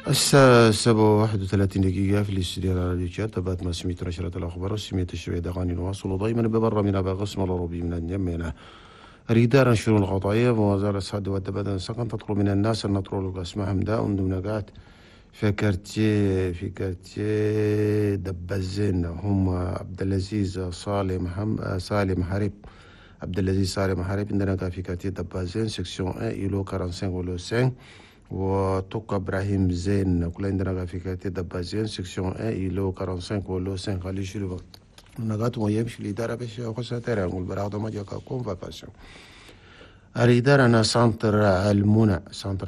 الساعة 7:31 في الاستديو على راديو تشاد. تابعت ما سميت نشرة الأخبار وسميت الشوية أغاني نواصل دائما ببرا من أبا قسم الأوروبي من الجميلة ريدار الشؤون القضائية ووزارة الصحة والتبادل سكن تطلب من الناس أن نطروا اسمهم داء دون في quartier دبازين هم عبد العزيز سالم حريب. عبد العزيز سالم حريب عندنا في quartier دبازين section 1 îlot 45 îlot 5 وتوكا ابراهيم زين كل عندنا في quartier دبازين section 1 îlot 45 îlot 5 خلي شنو نقاط ويمشي الإدارة باش خاصة ترى نقول براغ ما جاك convocation. الإدارة أنا centre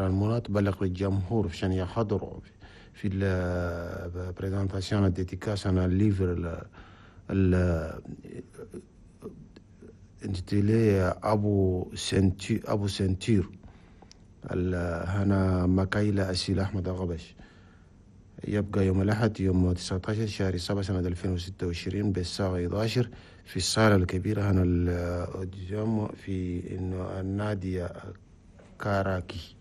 المنى تبلغ للجمهور عشان يحضروا في ال présentation dédicace انا livre ال intitulé ابو ceinture هنا مكايلة أسيل أحمد غبش. يبقى يوم الأحد يوم 19 شهر 7 سنة 2026 بالساعة 11 في الصالة الكبيرة هنا الأوديوم في النادي كاراكي.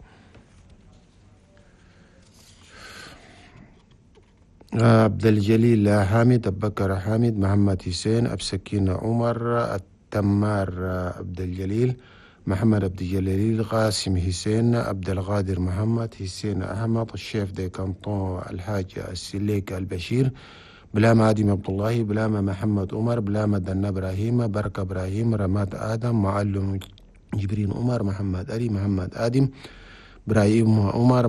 عبد الجليل حامد، أبو بكر حامد، محمد حسين، أبسكين عمر، التمار عبد الجليل، محمد عبد الجليل، قاسم حسين، عبد القادر محمد، حسين أحمد، ال chef de canton الحاج السليك البشير، بلامة آدم عبد الله، بلامة محمد عمر، بلامة دنا إبراهيم، بركة إبراهيم، رماد آدم، معلم جبرين عمر، محمد علي، محمد آدم، إبراهيم عمر،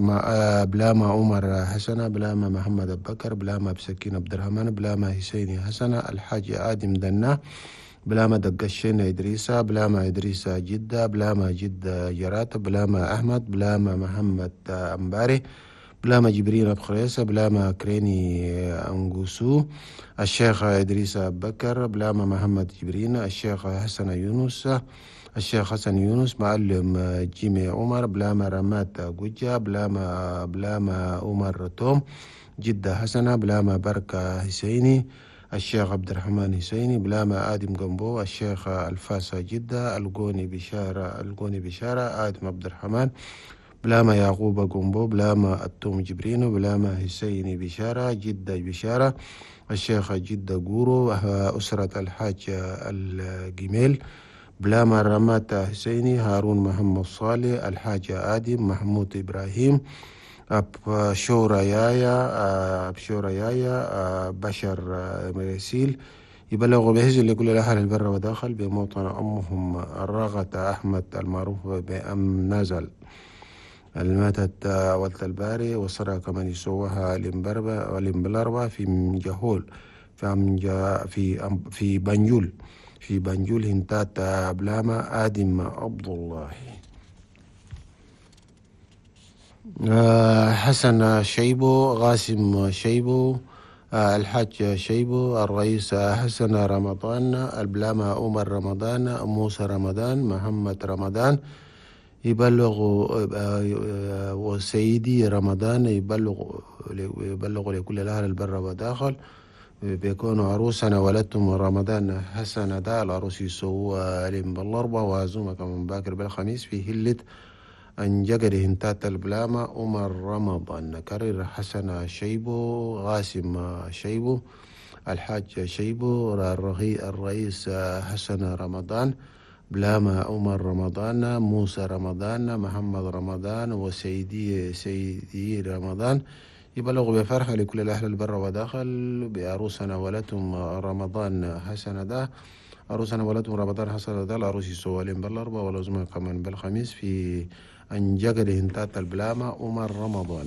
بلامة عمر حسنة، بلامة محمد أبو بكر، بلامة بسكين عبد الرحمن، بلامة حسيني حسنة، الحاج آدم دنا، بلامة دقشين إدريسة، بلامة إدريسة جدة، بلامة جدة جرات، بلامة أحمد، بلامة محمد أمباري، بلامة جبرين أبو خريسة، بلامة كريني أنغوسو، الشيخ إدريس بكر، بلامة محمد جبرين، الشيخ حسن يونس، الشيخ حسن يونس، معلم جيمي عمر، بلامة رمات جوجا، بلامة عمر توم، جدة حسنة، بلامة بركة حسيني، الشيخ عبد الرحمن حسيني، بلامة آدم جنبو، الشيخ الفاسة جدة، القوني بشارة، آدم عبد الرحمن، بلامة يعقوب جنبو، بلامة التوم جبرينو، بلامة حسيني بشارة، جدة بشارة، الشيخ جدة جورو، أسرة الحاج الجميل، بلامة رمات حسيني، هارون محمد صالح، الحاج آدم، محمود إبراهيم، أبشورا يايا، بشر مريسيل. يبلغ بهزل لكل الأهل البر وداخل بموطن أمهم الراغة أحمد المعروف بأم نزل الماتت ولت الباري وصرا كمان يسوها الإمبلربة في جهول في بنجول هنتات بلامة آدم عبد الله. حسن شيبو، غاسم شيبو، الحاج شيبو، الرئيس حسن رمضان، البلامة عمر رمضان، موسى رمضان، محمد رمضان، يبلغ وسيدي رمضان يبلغ لكل الأهل البر وداخل بيكونوا عروسنا ولدتم رمضان حسن دا العروس يسووا بالأربعة وعزومة كمان باكر بالخميس في هلة أنجقر هنتات البلامة عمر رمضان. نكرر حسن شيبو، غاسم شيبو، الحاج شيبو، الرئيس حسن رمضان، بلامة عمر رمضان، موسى رمضان، محمد رمضان، وسيدي رمضان. يبلغ بفرحة لكل الأهل البر وداخل بعروسنا ولدتم رمضان حسن دا عروسنا ولدتم رمضان حسن دا العروس يسوالين بالأربعة والعزمة كمان بالخميس في أنجقر هنتات البلامة عمر رمضان.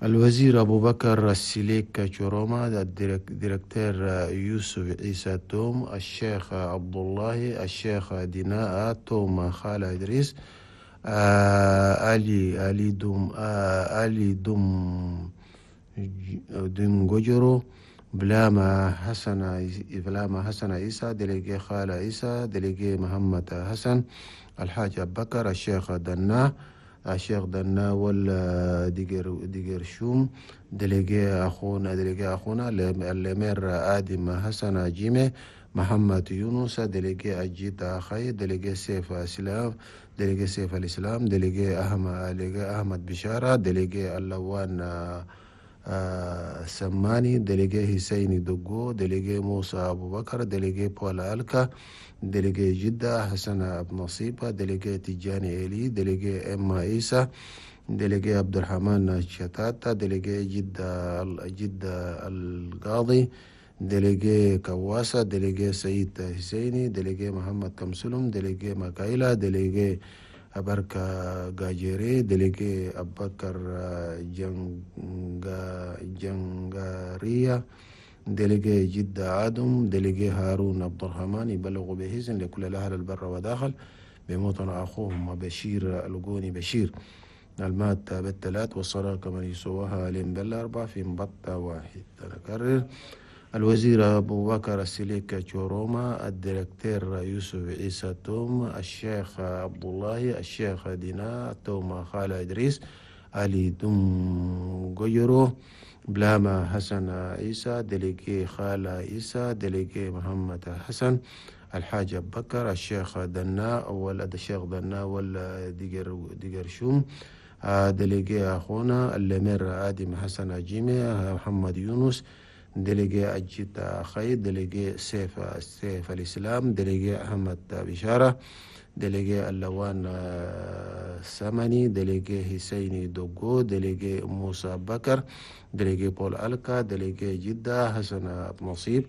الوزير أبو بكر السليك شوروما، ال directeur يوسف عيسى توم، الشيخ عبد الله، الشيخ ديناء توم، خالة إدريس، علي دوم دوم جوجرو، بلامة حسن عيسى، délégué خالة عيسى، délégué محمد حسن، الحاج أبو بكر، الشيخ دنا ولا ديجر شوم، délégué أخونا ال maire آدم حسن جيمي، محمد يونس، délégué أجيد أخي، délégué سيف سلام، délégué سيف الإسلام، délégué أحمد بشارة، délégué اللوان سماني، délégué حسين دقو، délégué موسى أبو بكر، délégué بولا ألكا، délégué جدة حسن أبو نصيبة، délégué تيجاني إيلي، délégué إما عيسى، délégué عبد الرحمن شتاتة، délégué جدة القاضي، délégué كواسة، délégué سيد حسيني، délégué محمد كمسلم، délégué مكايلة، délégué أبركة جاجيري، délégué أبكر جنغارية، délégué جدة آدم، délégué هارون عبد الرحمن. يبلغوا بحزن لكل الأهل البر وداخل بموطن أخوهم بشير القوني بشير المات بالثلاث، والصلاة كمان يسواها لين بالأربع في مبطة واحد. نكرر: الوزير أبو بكر السليك تشوروما، ال directeur يوسف عيسى توم، الشيخ عبد الله، الشيخ دينا توم، خالة إدريس علي دم جيرو، بلاما حسن عيسى، délégué خالة عيسى، délégué محمد حسن، الحاج أبو بكر، الشيخ دنا ولد الشيخ دنا ولا ديجر شوم، délégué أخونا ال maire آدم حسن جيمي، محمد يونس، délégué أجيت خير، délégué سيف الإسلام، délégué أحمد بشارة، délégué اللوان سمني، délégué حسيني دوغو، délégué موسى بكر، délégué بول ألكا، délégué جدة حسن أبو نصيب،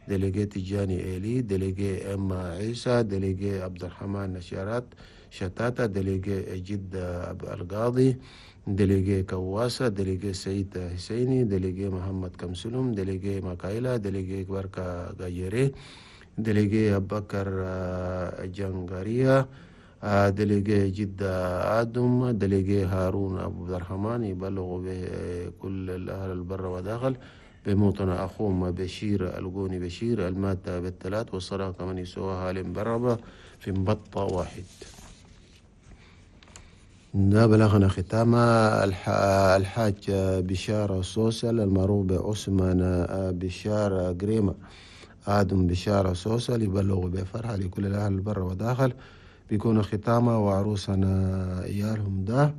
délégué تيجاني إيلي، délégué إما عيسى، délégué عبد الرحمن نشارات شتاتة، délégué جدة القاضي، délégué كواسة، délégué سعيد حسيني، délégué محمد كمسلم، délégué مكايلة، délégué بركة غايري، délégué أبكر جنغارية، délégué جدة آدم، délégué هارون أبو عبد الرحمن. يبلغوا بكل الأهل البر وداخل بموطن أخوهم بشير القوني بشير المات بالثلاث، والصلاة كمان يسواها لمبربة في مبطة واحد. ده بلغنا ختام الحاج بشارة سوسل المعروف بعثمان بشارة قريمة، آدم بشارة سوسل، يبلغ بفرحة لكل الأهل البر وداخل بيكون ختامة وعروسنا إيالهم ده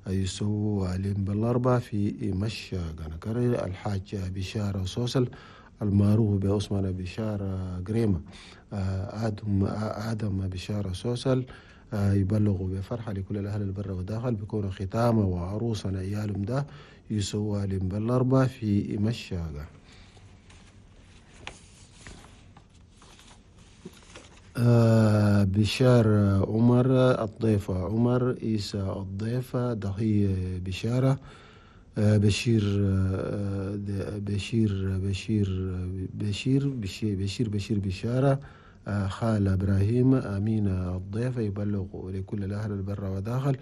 يسووا عليهم بالأربعة في مشا. نكرر: الحاج بشارة سوسل المعروف بعثمان بشارة قريمة، آدم بشارة سوسل، يبلغوا بفرحة لكل الأهل البر وداخل بيكون ختامة وعروسنا إيالهم ده يسووا عليهم بالأربعة في مشاقة. بشار عمر، الضيفة عمر عيسى، الضيفة ضحية بشارة، بشير بشير بشير بشير بشير بشير بشير بشارة، خال إبراهيم، أمينة الضيفة. يبلغ لكل الأهل البر وداخل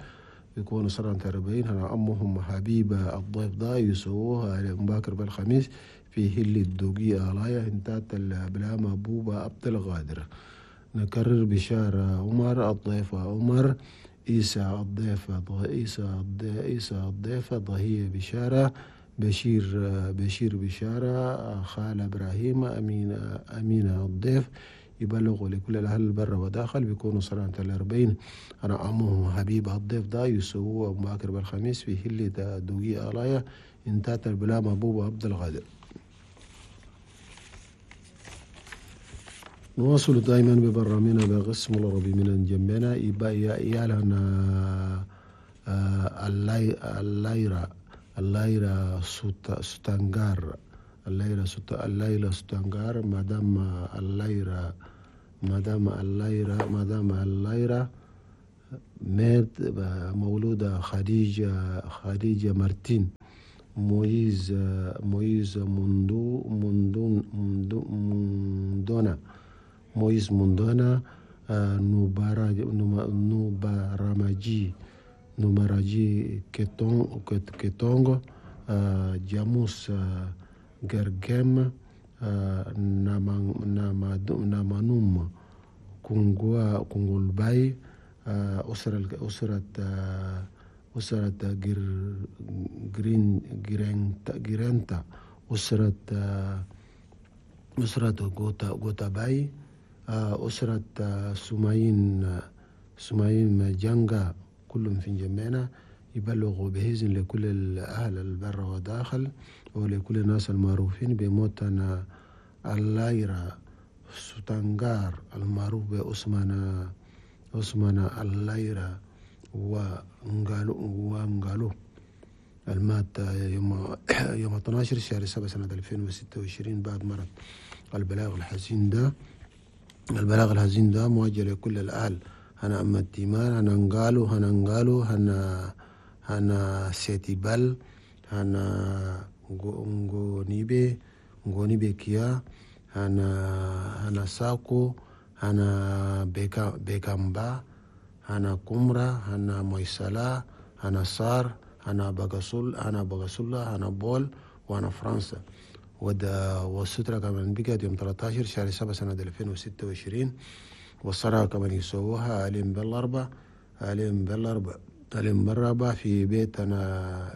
يكونوا سنة 40 هنا أمهم حبيبة الضيف ده يسووها مباكر بالخميس في هل الدوقية آلايا هنتات البلامة بوبا عبد الغادر. نكرر: بشارة عمر، الضيفة عمر عيسى، الضيفة عيسى، الضيفة ضهية بشارة، بشير بشير بشارة، خال إبراهيم، أمينة الضيف. يبلغوا لكل الأهل البر وداخل بيكونوا سنة 40 أنا عمهم حبيب الضيف ده يسووا مباكر بالخميس في هلة دوقي آلايا انتات البلامة بوبا عبد الغادر. نواصل دائما ببرامجنا بقسم العربي من جنبنا يالنا الليرة ستانجار، الليلة ستانجار، مدام الليرة مدام الليرة مدام الليرة مات مولودة خديجة مارتين، مويز مويز موندونا مويز موندونا، نوباراماجي كيتونغ، جاموس جرجم، نامانوم كونغولباي، أسرة جرينتا، أسرة غوتاباي، أسرة سماين سمايم جانجا كلهم في جمينا. يبلغوا بإذن لكل الأهل البر وداخل ولكل الناس المعروفين بموتنا اللايرة ستانغار المعروف بأسمانا اللايرة وانغالو المات يوم 12 شهر 7 سنة 2026 بعد مرض. البلاغ الحزين ده موجه لكل الأهل، هنا أما التيمان، هنا نغالو، هنا سيتيبال، هنا غونيبي كيا، هنا ساكو، هنا بيكامبا، هنا كومرا، هنا مويسالا، هنا سار، هنا بغسولا، هنا بول، وهنا فرنسا. والسترة كمان بقت يوم 13 شهر 7 سنة 2026. والصلاة كمان يسووها أليم بالأربعة في بيتنا،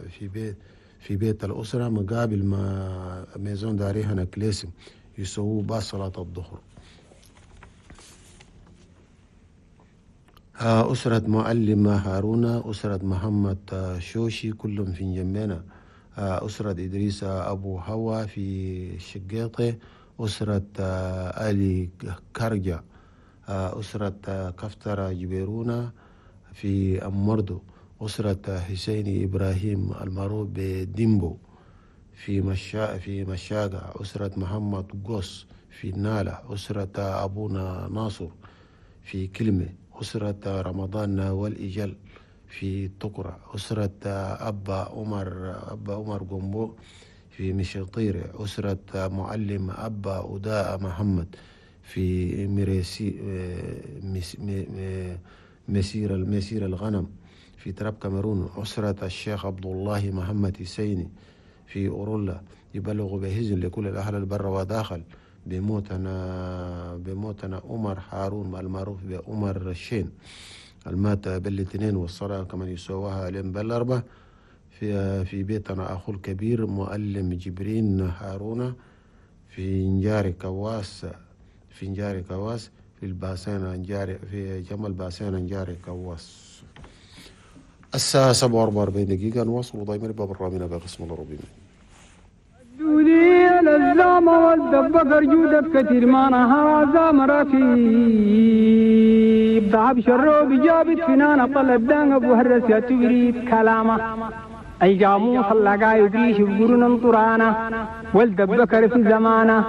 في بيت الأسرة مقابل ما ميزون داري هنا كليسم، يسووه بعد صلاة الظهر. أسرة معلم هارون، أسرة محمد شوشي كلهم في جنبنا، أسرة إدريس أبو هوا في شقيطة، أسرة آلي كرجة، أسرة كفترة جبيرونا في أمردو، أسرة حسين إبراهيم المعروف بديمبو في مشاقة، أسرة محمد قوس في نالة، أسرة أبونا ناصر في كلمة، أسرة رمضان والإجل في تقرة، أسرة أبا عمر قنبو في مشيطيرة، أسرة معلم أبا أداء محمد في مسير الغنم في تراب كاميرون، أسرة الشيخ عبد الله محمد حسيني في أورولا. يبلغ بهزن لكل الأهل البر وداخل بموتنا عمر هارون المعروف بعمر الشين المات بالاثنين، والصلاة كمان يسووها اليوم بالأربعة في بيتنا أخو الكبير معلم جبرين هارون في نجاري كواس، في الباسين نجاري، في جمل باسين نجاري كواس. الساعة 7:44 دقيقة. نواصل ضيمر باب الرامينا بقسم الربيع. دولي الزامة والدبقر جودك كثير ما نهار زام ركيب ضعب شروب جابت فنانة طلب دان أبو هرس يا تريد كلامه أي جاموس اللقا يقريش بقرن طرانا والدبكر في زمانه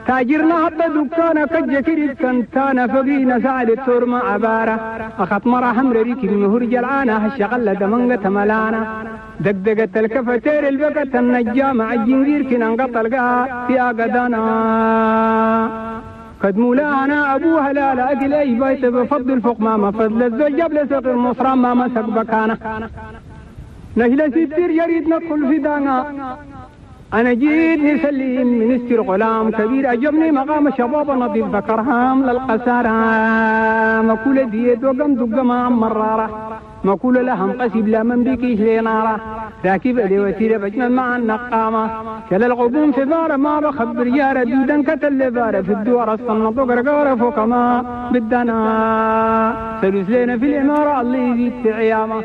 تاجرنا هبا دكانا كجكري كنتانا فقينا سعد التور ما عبارة أخط مرة حمر ريك المهر جلعانة هالشغلة دمنقة ملانا دقدقة الكفتير البقة النجام عالجنجير كنا انقطع القاء في أقدانا قد مولانا أبوها لا لا أقل أي بيت بفضل فوق ما فضل الزوج جبل سقي المصرى ما مسك بكانا نجلس ستير يريد ندخل في دانا أنا جيت نسلم منستر غلام كبير أجبني مقام شباب نظيف ذكرهام للقسارة مكولة ديت وقم دق ما مرارة مكولة لهم قسيب لا من بكيش لنارة راكب لي وسيلة بجمل مع النقامة كلا الغبون في بارة ما بخبر يارة دودا كتل بارة في الدوار الصنط وقرقارة فوق ما بدنا سلوس لنا في العمارة الله يزيد في عيامة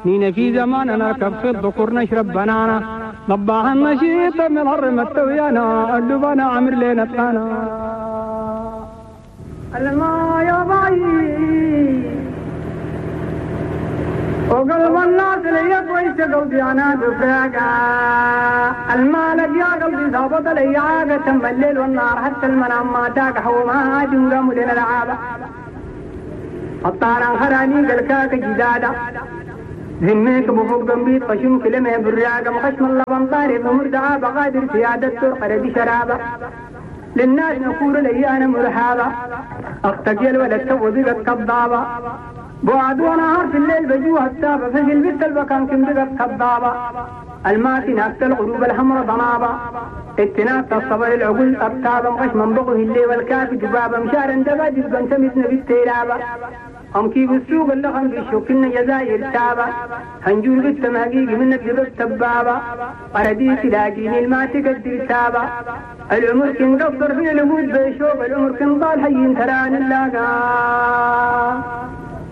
نينا في زماننا نركب في الذكور نشرب بنانا ضباح النشيط من الهرم التويانا اللبانا عمر لنا تانا الما يا باي وقلب الناس لي كويس قلبي انا دفاقة المالك يا قلبي ظابط لي عاقة تم الليل والنهار حتى المنام ما تاق حوما جنقام لنا العابة الطاران خراني قلكاك جدادة ذميك بفوق بنبيت خشم كلمة براقة مخشم اللبن طارق مردعة بقادر سيادة ترقر بشرابة للناس نقول لي أنا مرحابة أختك يا الولد تو بقت كضابة بعد ونهار في الليل بجوها السابة فجل بنت البكان كم بقت كضابة الماتي ناكت الغروب الحمر ضنابة اتناكت الصبر العقول أبتابة مخشم بغه الليل والكافي دبابة مشارا دبا دبا سمتنا بالتيرابة أم كيف السوق اللغم بيشوكنا جزائر تابة هنجول بالتمهقيق من الدبب تبابة أرديت لاقيني الما تقدر تابة العمر كن قصر في الوجود بيشوف العمر كن ضال حي تران اللاقا.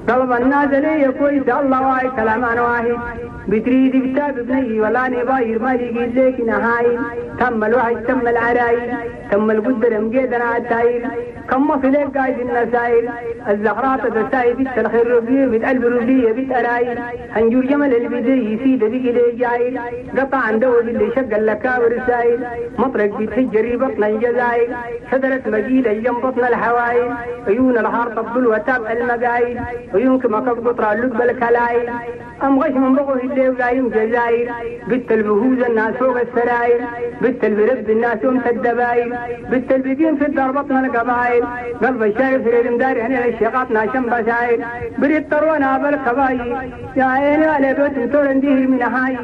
قلب الناس لي كويس الله واي كلام انا واحد بتريد بتاب بني ولا نباير ما لقيت لك نهاي تم الوحي تم العراي تم القدر مقيدنا على التاير كم في لك قايد النساير الزهرات تساي بيت الخير ربيه بيت قلب ربيه بيت اراي هنجور جمل البدي يسيد بيك لي جايل قطع عن دو اللي شق اللكاور السايل مطرق بيت بطن الجزائر شجرة مجيلة جنب بطن الحوايل عيون الحار تبدل وتاب المقايل عيونك ما قطرة اللب الكلايل أم غش من بغوه اللي ولايم جزائر بنت البهوز الناس فوق السراير بنت البرب الناس يوم الدباير بنت البدين في الدار بطن القبائل قلب الشارف في المدار هنا الشيقات ناشم بساير بريد طروانا بالكباير يا عيني على بيت تورنديه من هاي.